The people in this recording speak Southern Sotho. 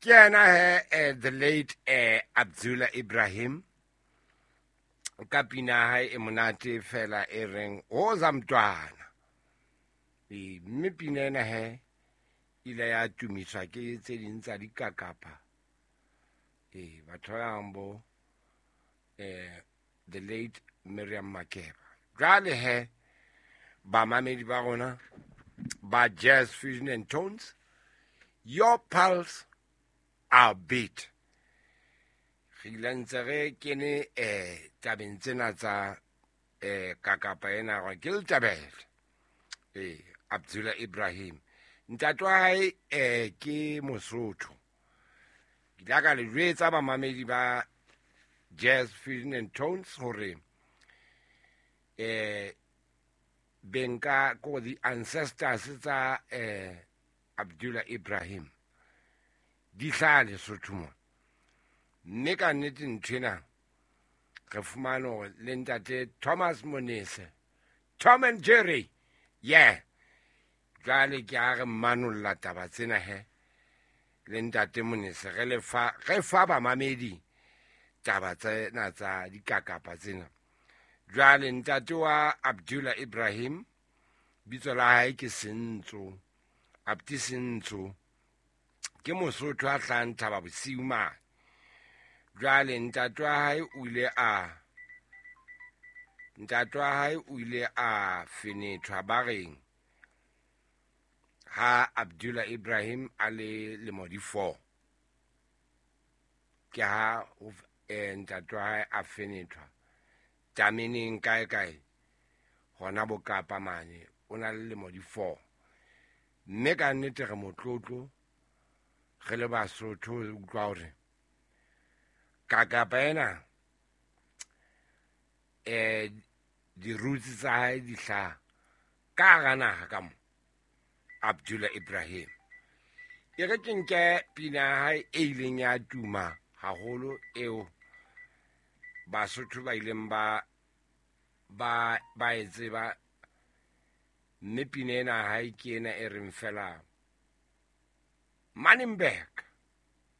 Ke yena he, the late Abdullah Ibrahim ka pina ya hae e monate fela e reng Woza Mntwana. Ee, mme pina ena he ile ya tumiswa ke tse ding tsa dikakapa. Ee, batho ba bang bo the late Miriam Makeba. Jwale he bamamedi ba rona ba Jazz Fusion and Tones, your pulse, our beat. Re ile ntse re kene tabeng tsena tsa kakapa ena gore ke letabele. Abdullah Ibrahim ntate wa hae ke Mosotho. Ke ile ka le jwetsa bamamedi ba Jazz Fusion and Tones hore benka ko the ancestors tsa Abdullah Ibrahim di hlaha Lesotho mo. Mme ka nnete nthwena re fumane hore le ntate Thomas Monese, Tom and Jerry, yeah. Jwale ke a re manolla taba tsena he le ntate Monese, re le fa, re fa bamamedi taba tsena tsa dikakapa tsena. Jwale ntate wa Abdullah Ibrahim bitso la hae ke Sentso, Abdi Sentso, ke Mosotho a hlahang Thaba Bosiu mane. Jwale ntate wa hae o ile a, ntate wa hae o ile a fenethwa ba reng ha Abdullah Ibrahim a le lemo di 4. Ke ha ntate wa hae a fenethwa tameneng kae kae hona Bokapa mane, o na le lemo di 4. Mme ka nnete re motlotlo re le Basotho re utlwa hore kakapa ena di-roots tsa hae di hlaha ka hara naha ka mo Abdullah Ibrahim. E re ke nke pina ya hae e ileng ya tuma haholo eo Basotho ba ileng ba e tseba, mme pina ena ya hae ke ena e reng fela Manenberg.